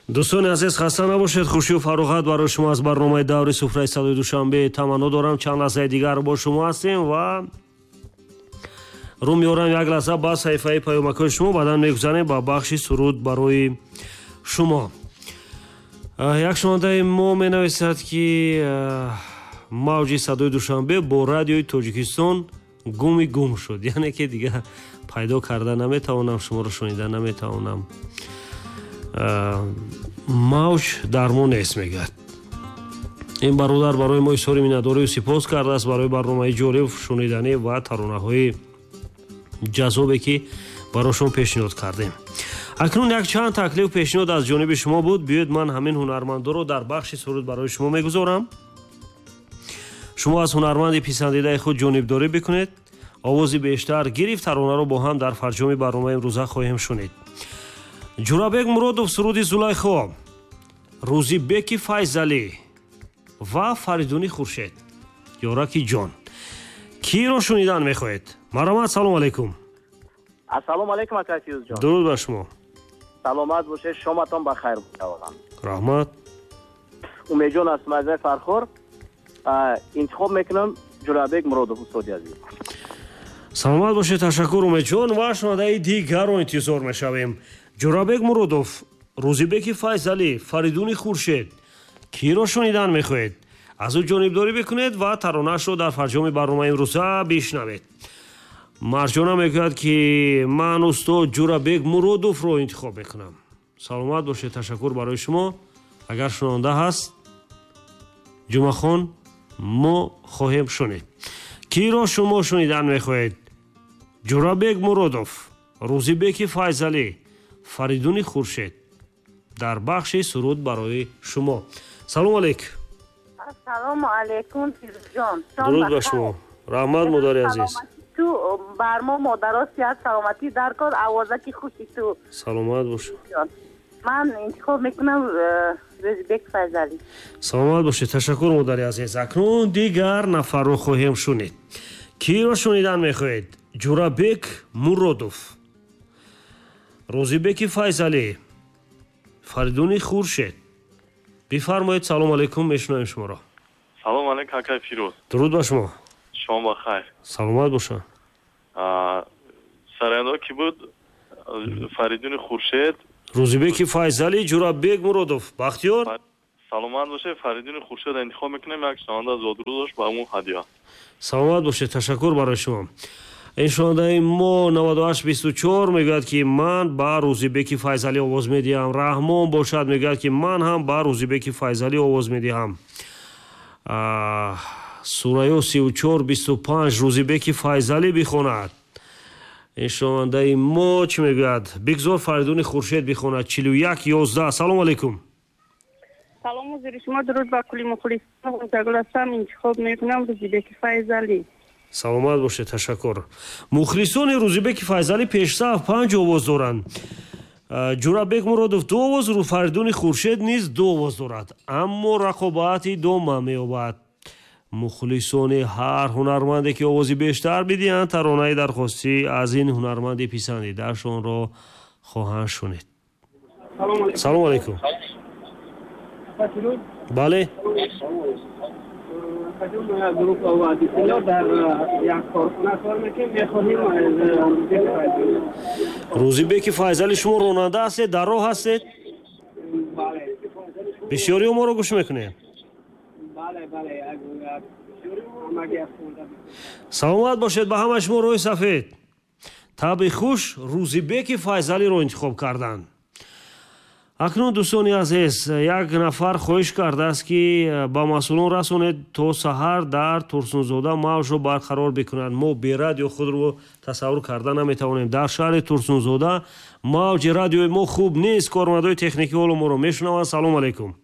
Дӯстони азиз, хаста набошед, хушию фароғат барои шумо аз барномаи даври суфраи садои Душанбе таманно дорам. Чанд лаҳзаи дигар бо шумо ҳастем ва рӯ меорам як лаҳза ба саҳифаи паёмакҳои шумо, баъдан мегузарем ба бахши суруд барои шумо. Як шунавандаи мо менависад, ки мавҷи садои Душанбе бо радиои Тоҷикистон гуми гум шуд, яъне ки дигар пайдо карда наметавонам, шуморо шунида наметавонам, мавҷ дар мо нест, мегӯяд. Ин бародар барои мо изҳори миннатдорию сипос кардааст барои барномаи ҷолиб, шуниданӣ ва таронаҳои ҷаззобе, ки барошон пешниҳод кардем. Акнун якчанд таклиф, пешниҳод аз ҷониби шумо буд. Биёед, ман ҳамин ҳунармандоро дар бахши суруд барои шумо мегузорам. Шумо аз ҳунарманди писандидаи худ ҷонибдорӣ бикунед. Овози бештар гирифт, таронаро бо ҳам дар фарҷоми барномаи имрӯза хоҳем шунид. Ҷурабек Муродов, суруди «Зулайхо», Рӯзибеки Файзалӣ ва Фаридуни Хуршед, «Ёраки ҷон». Киро шунидан мехоҳед? Марҳамат, салому алайкум. Ассалому алайкум, ака Фирӯзҷон. Дуруд ба шумо. Саломат бошед, шоматон ба хайр бошад. Раҳмат. Умедҷон аз мазраи Фархор. Интихоб мекунам Ҷурабек Муродов, устоди азиз. Саломат бошед, ташаккур, Умедҷон, ва шунавандаи дигарро интизор мешавем. Ҷурабек Муродов, Рӯзибеки Файзалӣ, Фаридуни Хуршед, киро шунидан мехоҳед? Аз ӯ ҷонибдорӣ бикунед ва таронаашро дар фарҷоми барномаи имрӯза бишнавед. Марҷона мегӯяд, ки ман устод Ҷурабек Муродовро интихоб мекунам. Саломат бошед, ташаккур барои шумо. Агар шунаванда ҳаст, Ҷумъахон, мо хоҳем шунид. Киро шумо шунидан мехоҳед? Ҷурабек Муродов, Рӯзибеки Файзалӣ, Фаридуни Хуршед дар бахши суруд барои шумо. Салому алейкум. Ассалому алайкум, Фирӯзҷон. Дуруд ба шумо, раҳмат, модари азиз. Ту бар мо модаро сиҳат, саломатӣ дар кор, овозаки хуши ту. Саломат бош. Ман интихоб мекунам Рӯзибек Файзалӣ. Саломат бошед, ташаккур, модари азиз. Акнун дигар нафарро хоҳем шунид. Киро шунидан мехоҳед? Ҷурабек Муродов, Рӯзибеки Файзалӣ, Фаридуни Хуршед. Бифармоед, салому алайкум, мешунавем шуморо. Салому алайкум, акай Фирӯз. Дуруд ба шумо. Шом ба хайр. Саломат бошанд. Сарояндаҳо ки буд? Фаридуни Хуршед. Рӯзибеки Файзалӣ, Ҷурабек Муродов, Бахтиёр. Саломат бошед, Фаридуни Хуршед интихоб мекунем. Як шунаванда зодрӯз дошт, ба ӯ ҳадия. Саломат бошед, ташаккур барои шумо. Ин шунавандаи мо 9824 мегӯяд, ки ман ба Рӯзибеки Файзалӣ овоз медиҳам. Раҳмон бошад, мегӯяд, ки ман ҳам ба Рӯзибеки Файзалӣ овоз медиҳам. Сурайё 3425, Рӯзибеки Файзалӣ бихонад. Ин шунавандаи мо чӣ мегӯяд? Бигзор Фаридуни Хуршед бихонад. 4111, салому алайкум. Салом ҳузури шумо, дуруд ба кулли мухлисон. Гуласам, интихоб мекунам Рӯзибеки Файзалӣ. Саломат бошед, ташаккур. Мухлисони Рӯзибеки Файзалӣ пешсаф панҷ овоз доранд. Ҷурабек Муродов ду овоз, Фаридуни Хуршед низ ду овоз дорад, аммо рақобат идома меёбад. Мухлисони ҳар ҳунарманде, ки овози бештар бидиҳанд, таронаи дархостӣ аз ин ҳунарманди писандидаашонро хоҳанд шунид. Салому алайкум. Бале. Дар як корхона кор мекунем, мехоҳем. Рӯзибеки Файзалӣ. Шумо ронанда ҳастед, дар роҳ ҳастед? Бисёриҳо моро гӯш мекунем. Саломат бошед, ба ҳамаи шумо роҳи сафед, табъи хуш. Рӯзибеки Файзалиро интихоб карданд. Акнун, дӯстони азиз, як нафар хоҳиш кардааст, ки ба масъулон расонед, то саҳар дар Турсунзода мавҷро барқарор бикунанд. Мо бе радио худро тасаввур карда наметавонем. Дар шаҳри Турсунзода мавҷи радиои мо хуб нест. Кормандои техникӣ ҳоло моро мешунаванд. Салому алайкум.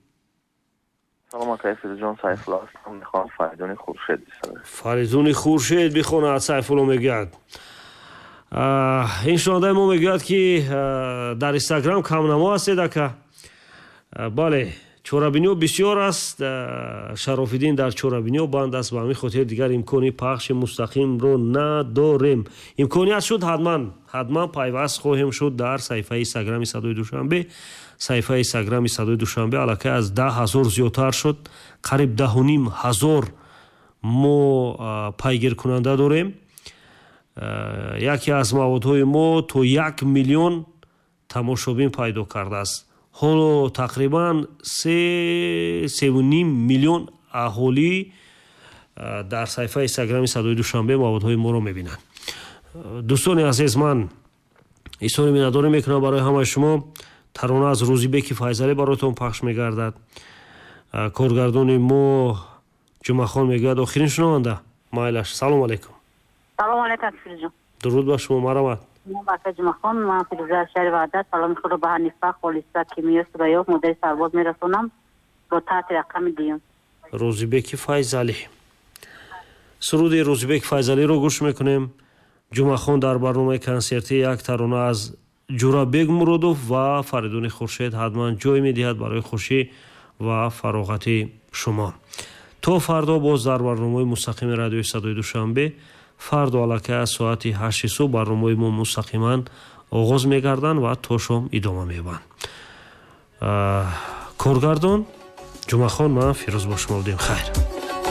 Салом, акай Фирӯзҷон, Сайфулло ҳастам. Мехоҳам Фаридуни Хуршед бисароям. Фаридуни Хуршед бихонад, Сайфулло мегӯяд. Ин шунавандаи мо мегӯяд, ки дар Инстаграм камнамо ҳастед, ака. Бале, Чорабиниҳо бисёр аст, Шарофиддин дар чорабиниҳо банд аст, ба ҳамин хотир дигар имкони пахши мустақимро надорем. Имконият шуд, ҳатман ҳатман пайваст хоҳем шуд дар саҳифаи инстаграми Садои Душанбе. Саҳифаи инстаграми Садои Душанбе аллакай аз 10 000 зиёдтар шуд, қариб 10 500 мо пайгиркунанда дорем. Яке аз маводҳои мо то 1 миллион тамошобин пайдо кардааст. Ҳоло тақрибан 3,5 миллион аҳолӣ дар саҳифаи инстаграми Садои Душанбе маводҳои моро мебинанд. Дӯстони азиз, ман изҳори миннатдорӣ мекунам барои ҳамаи шумо. Тарона аз Рӯзибеки Файзалӣ бароятон пахш мегардад. Коргардони мо Ҷумъахон мегӯяд, охирин шунаванда. Майлаш, салом алайкум. Салом алайкум, Фирӯзҷон. Дуруд ба шумо, марҳамат. Бака Ҷумъахон, ман Фирӯза аз шаҳри Ваҳдат. Саломи худро ба Ҳанифа, Холиса, Кимиё, Сурайё, модари сарбоз мерасонам бо таҳти рақами дуюм. Рӯзибеки Файзалӣ, суруди Рӯзибеки Файзалиро гӯш мекунем. Ҷумъахон дар барномаи консертӣ як тарона аз Ҷурабек Муродов ва Фаридуни Хуршед ҳатман ҷой медиҳад барои хушӣ ва фароғати шумо. То фардо боз дар барномаи мустақими радиои Садои Душанбе. Фардо аллакай аз соати 8-и субҳ барномаи мо мустақиман оғоз мегарданд ва то шом идома меёбанд. Коргардон Ҷумъахон, ман Фирӯз бо шумо будем. Хайр.